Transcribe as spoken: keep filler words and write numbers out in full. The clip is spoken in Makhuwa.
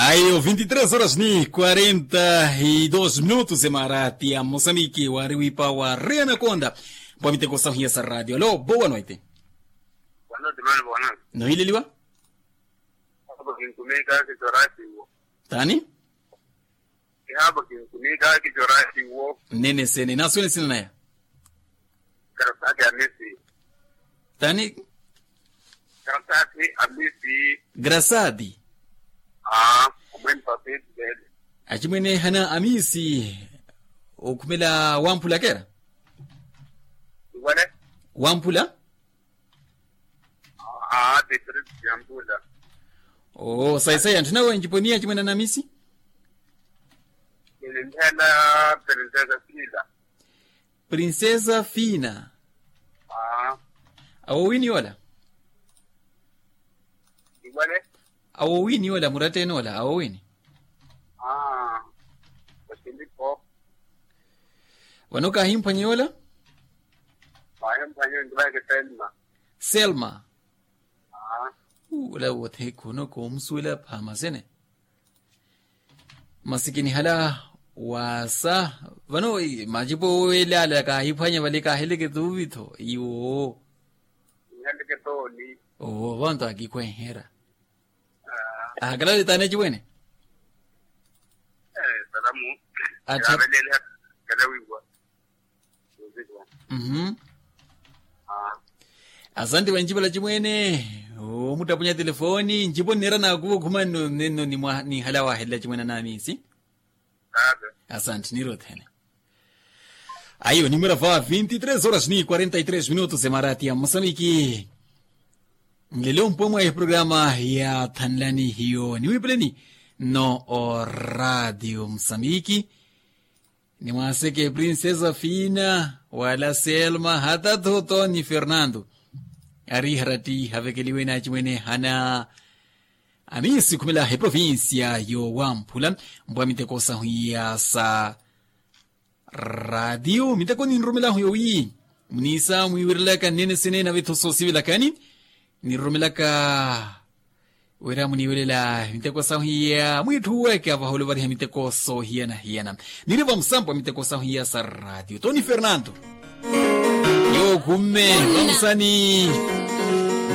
Ayo vinti tres horas ni quarenta y dos minutos emarati ya mosamiki wari wipa wari anakonda. Pwa miteko sahu hiya sa radio alo boa noite. Nohileliwa. Tani? Nene sene naswene sina naya. Tani? Grasadi. Achimwene hana amisi okhumela wamphula kera. Wamphula. Oo saisai anthu nawe nciponiya achimwene ana amisi. Princesa fina. Awowini ola. Awowini ola muratteni ola awowini. Vano kahimphwanye ola. Selma. Ola wothekhono koomusuwela phamasene. Masi kinihala wasa vano macipo wele ala kahiphwanya vale kaheleke tuvi tho iwo. Owo vanto akikhwenhera. Ahakalale tani acimwene. Atta. Asante vancipala cimwene. Omuttapunya telefoni ncipo nniira nakuva okhuma nno ninhala wahelela cimwene anamisi. Asante nniira othene. Ayo nimwira va vinti tres horas ni quarenta y tres minutos emarati ya mosamiki. Nlelo mpo mwa eprograma ya thanlani hiyo niwipeleni nno o radio mosamiki. Nimwaaseke princesa fina wala selma hata tho toni fernando. Ari harati havekeliwe na acimwene hana amisi khumela eprovincia yo wamphula. Mpwa miteko sahu iya sa radio miteko ninrumelahu yowi muniisa mwiwirelaka nnene sene nave tho soosivelakani. Ninrumelaka wira muniiwelela miteko sahu iya mwiitthuweke avaha oluvariha miteko soohiyana-hiyana. Niri vamusampo miteko sahu iya sa radio toni fernando. Yookumme vamusani.